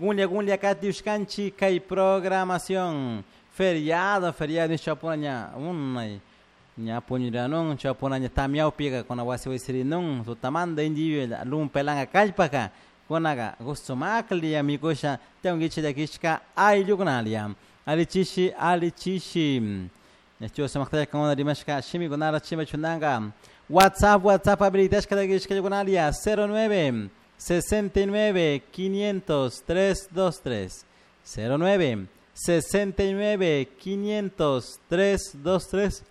Gunlia gunlia katiushkanchik kay programación. Feriado, feriado chapuna unay ña puñuranun chapuna ña tamiawpiqa kuna wasi wasirinun tutamanta inti lumpelanga kallpaka kunaqa gusto maklia mikusha tiyankichik llakishka ayllukunalia alichishi alichishi ñachu sumaqtalla kankuna rimashka shimikunara chimbachunanka WhatsApp WhatsApp habilitashka llakishka ayllukunalia 09 69 500 323 09 69 500 323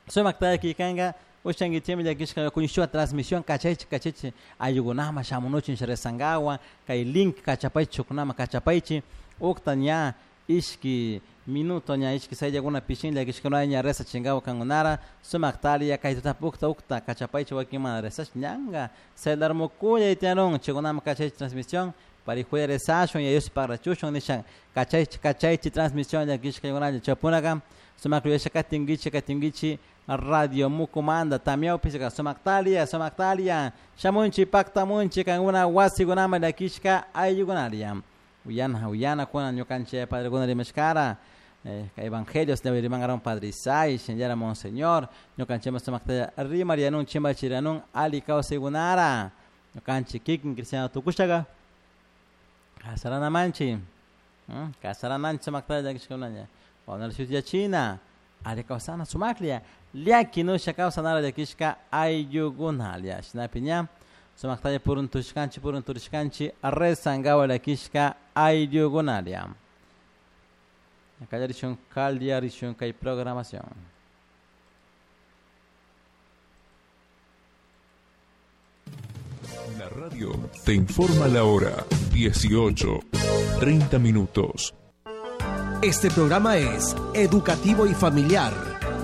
Sumaktalla killkanka ushankichikmi llakishka kuñishua transmisión kachaychik kachaychik ayllukunama shamunuchun resankawan kay link kachapaychik shukunama kachapaychik ukta ña ishki minuto ña ishki sayllakuna pishin llakishkuna ña rezachinkawa kankunara sumaktalla kay tutapi ukta ukta kachapaychik wakin mana rezash ñanka celular mukulla tiyanun chaykunama kachaychik transmisión parijuya rezashun y Dios pagrachushun nishan kachaychik kachaychik transmisión llakishka ayllukunalla chaypunaka sumak yuyasha katinkichik katinkichik Radio Mucumanda tamiawpis sumaktalia sumaktalia shamunchik paktamunchik kankuna wasikunaman llakishka ayllukunalia uyana uyana kuna ñukanchik padrekuna rimashkara evangelios rimankaron padre Isai shinallara monseñor ñukanchikman sumaktalla rimarianun chimbachirianun alli kawsaykunara ñukanchik kikin cristiano tukushaka kasaranamanchik kasaranamanchik sumaktalla llakishkakunalla wawanara shutiyachina alli kawsana sumaklla llaki nusha kawsanara llakishka ayllukunalia shinapi ña sumaktalla puruntushkanchik purunturishkanchik rezankawa llakishka ayllukunalia kallarishun kallarishun kay programación. La radio te informa la hora 18, 30 minutos. Este programa es educativo y familiar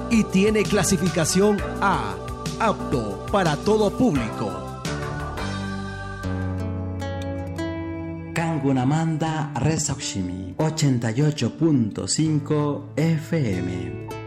y tiene clasificación A, apto para todo público. Kangunamanda Resoximi 88.5 FM.